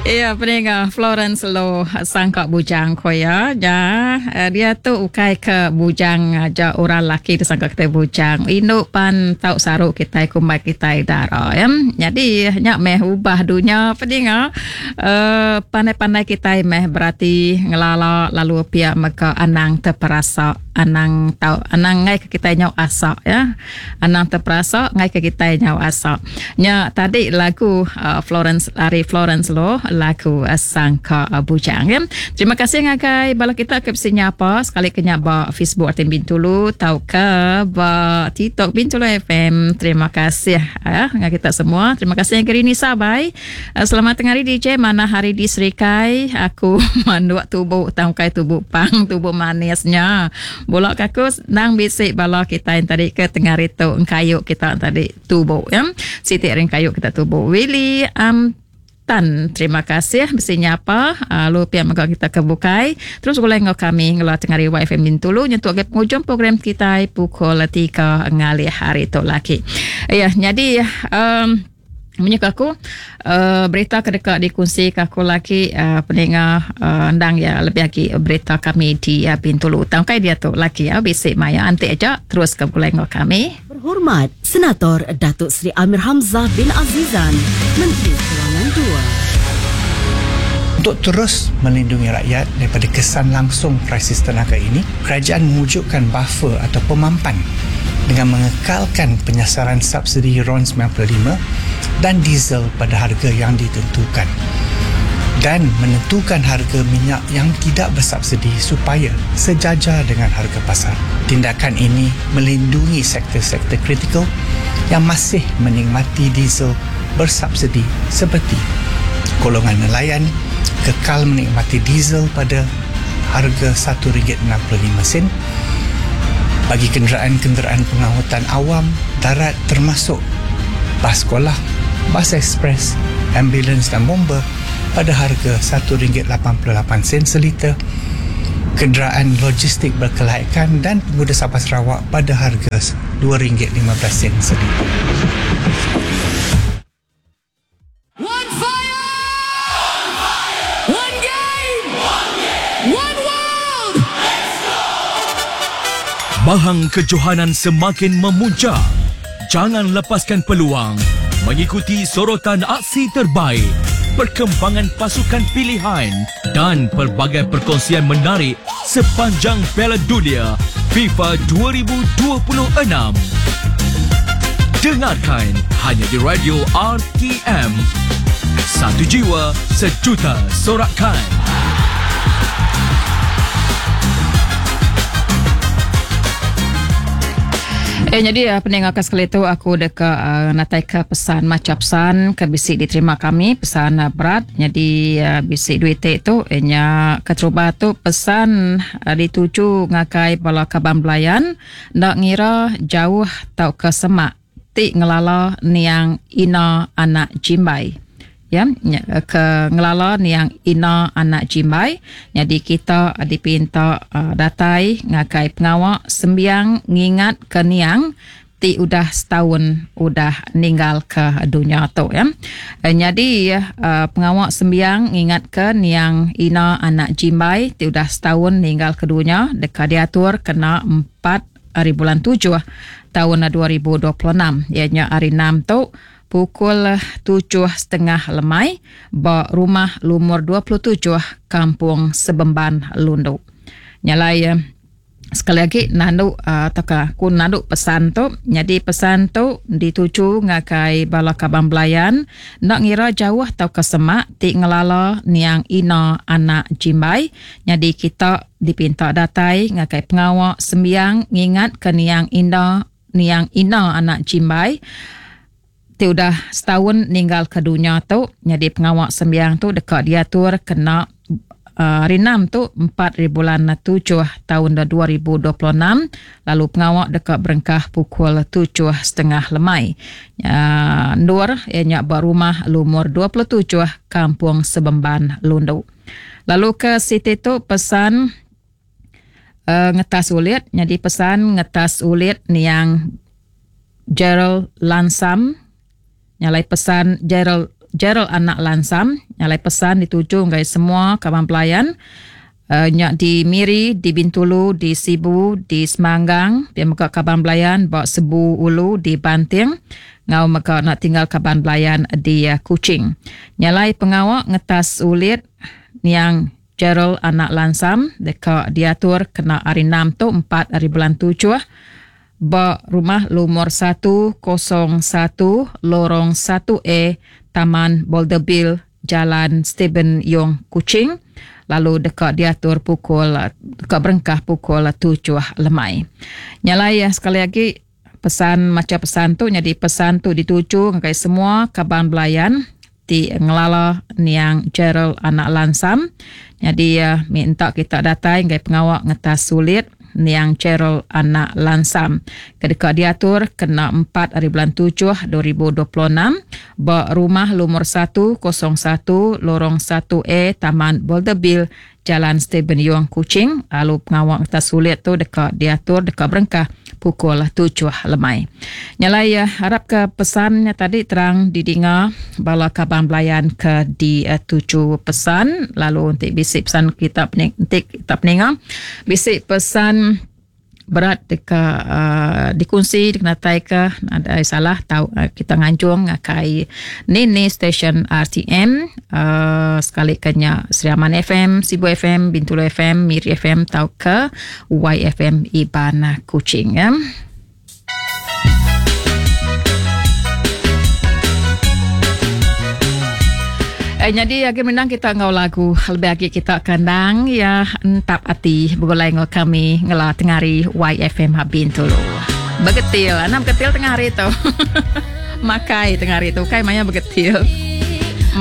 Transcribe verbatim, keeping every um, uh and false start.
Iya peninga Florence Lo sangka bujang ko ya. Ja dia tu ukai ke bujang aja orang laki tu sangka kita bujang. Indu pan tau saru kita kumbai kita dara ya. Jadi nya meh ubah dunia peninga. Uh, pandai-pandai kita meh berarti ngelala lalu pia mega anang terperasa anang tau anang ngai ke kita nyau asak ya. Anang terperasa ngai ke kita nyau asak. Nya tadi lagu uh, Florence ari Florence Lo lagu uh, Sangka Bujang ya. Terima kasih ngagai bala kita ke bisi nyapa sekali ke nya ba Facebook R T M Bintulu tau ke ba TikTok Bintulu F M. Terima kasih ya ngagai kita semua. Terima kasih ngagai Rini Sabai. Uh, selamat tengah hari D J, mana hari di Serikai aku manduk tubuh tangkai tubuh pang tubuh manisnya. Bulak kakus nang bisik bala kita yang tadi ke tengah itu kayu kita tadi tubuh ya. Siti ring kayu kita tubuh. Willy um, Tan, terima kasih bisi nyapa lalu uh, pihak mega kita ke bukai. Terus gulai ngau kami ngela tengah hari Y F M Bintulu nyentuk ke penghujung program kita pukul tiga ngalih hari tu lagi. Ya, jadi um, menyuk aku uh, berita ke dekat dikongsi ke aku lagi uh, pendengar uh, endang ya lebih lagi berita kami di uh, Bintulu. Tangkai dia tu lagi ya bisik maya antik aja terus ke gulai ngau kami. Berhormat Senator Datuk Seri Amir Hamzah bin Azizan, Menteri Kewangan dua. Untuk terus melindungi rakyat daripada kesan langsung krisis tenaga ini, kerajaan mewujudkan buffer atau pemampan dengan mengekalkan penyasaran subsidi RON sembilan puluh lima dan diesel pada harga yang ditentukan dan menentukan harga minyak yang tidak bersubsidi supaya sejajar dengan harga pasar. Tindakan ini melindungi sektor-sektor kritikal yang masih menikmati diesel bersubsidi seperti golongan nelayan kekal menikmati diesel pada harga satu ringgit enam puluh lima sen bagi kenderaan-kenderaan pengangkutan awam darat termasuk bas sekolah, bas ekspres, ambulans dan bomba pada harga satu ringgit lapan puluh lapan sen seliter, kenderaan logistik berkelaikan dan pengguna Sabah Sarawak pada harga dua ringgit lima belas sen seliter. One fire! One game! One world! Bahang kejohanan semakin memuncak. Jangan lepaskan peluang mengikuti sorotan aksi terbaik, perkembangan pasukan pilihan dan pelbagai perkongsian menarik sepanjang Piala Dunia FIFA dua ribu dua puluh enam. Dengarkan hanya di Radio R T M. Satu jiwa, sejuta sorakan. Eh, jadi uh, pendengar sekali tu aku deka uh, natai ke pesan macam pesan ke bisik diterima kami pesan uh, berat. Jadi uh, bisik duit tu eh, nya keterubah tu pesan uh, dituju ngakai bala kaban belayan ndak ngira jauh tau ke semak ti ngelala niang Ina anak Jimbai. Ya, ke ngelala niang Ina anak Jimbai. Jadi kita dipinta uh, datai ngakai pengawak sembiang ngingat ke niang ti udah setahun udah ninggal ke dunia tu ya. Jadi uh, pengawak sembiang ngingat ke niang Ina anak Jimbai ti udah setahun ninggal ke dunia dekat diatur kena empat hari bulan tujuh tahun dua ribu dua puluh enam. Ianya hari enam tu pukul tujuh setengah lemai ba rumah lumur dua puluh tujuh Kampung Sebemban Lundu. Nyalai sekali lagi nandu uh, taka ku nandu pesan tu. Jadi pesan tu dituju ngakai bala kabang belayan nak ngira jauh tau ke semak ti ngelala niang Ina anak Jimbai. Jadi kita dipinta datai ngakai pengawak sembiang ngingat ke niang Ina niang Ina anak Jimbai ti udah setahun ninggal ke dunia tu. Jadi pengawak sembiang tu dekat diatur kena uh, hari enam tu empat bulan tujuh tahun dua ribu dua puluh enam. Lalu pengawak dekat berengkah pukul tujuh setengah lemai. Uh, Nur ianya berumah lumur dua puluh tujuh Kampung Sebemban Lundu. Lalu ke siti tu pesan uh, ngetas ulit. Jadi pesan ngetas ulit niang Gerald Lansam. Nyalai pesan Gerald Gerald Anak Lansam. Nyalai pesan dituju ngagai semua kaban pelayan uh, nya di Miri, di Bintulu, di Sibu, di Semanggang, dia mega kaban belayan ba Sebu Ulu di Banting, ngau mega nak tinggal kaban belayan di uh, Kuching. Nyalai pengawak ngetas ulit yang Gerald Anak Lansam deka diatur kena hari enam tu empat hari bulan tujuh ba rumah lumur satu kosong satu lorong satu A Taman Boulderbill Jalan Stephen Yong Kuching, lalu deka diatur pukul deka berengkah pukul tujuh lemai. Nyalai ya, sekali lagi pesan maca pesan tu jadi pesan tu dituju ngagai semua kaban belayan ti ngelala niang Gerald Anak Lansam. Jadi uh, minta kita datai ngagai pengawak ngetas sulit niang Gerald Anak Lansam. Kedeka diatur kena empat hari bulan tujuh dua ribu dua puluh enam ba rumah lumur satu kosong satu lorong satu A Taman Boulderbill Jalan Stephen Yong Kuching. Lalu pengawak ngetas sulit tu deka diatur deka berengkah pukul tujuh lemai. Nyalai ya, harap ke pesannya tadi terang didinga bala kaban belayan ke di uh, tujuh pesan. Lalu untuk bisik pesan kita pening, untuk kita peninga bisik pesan berat deka uh, dikunsi dikenatai ke ada salah tahu uh, kita nganjung ngakai nini stesen R T M uh, sekali kenya Sri Aman F M, Sibu F M, Bintulu F M, Miri F M tau ke Y F M Iban Kuching ya. Eh, jadi agi menang kita ngau lagu lebih agi kita kandang ya entap ati begulai ngau kami ngela tengari Y F M Bintulu. Begetil, enam ketil tengah hari tu. Makai tengah hari tu kai maya begetil.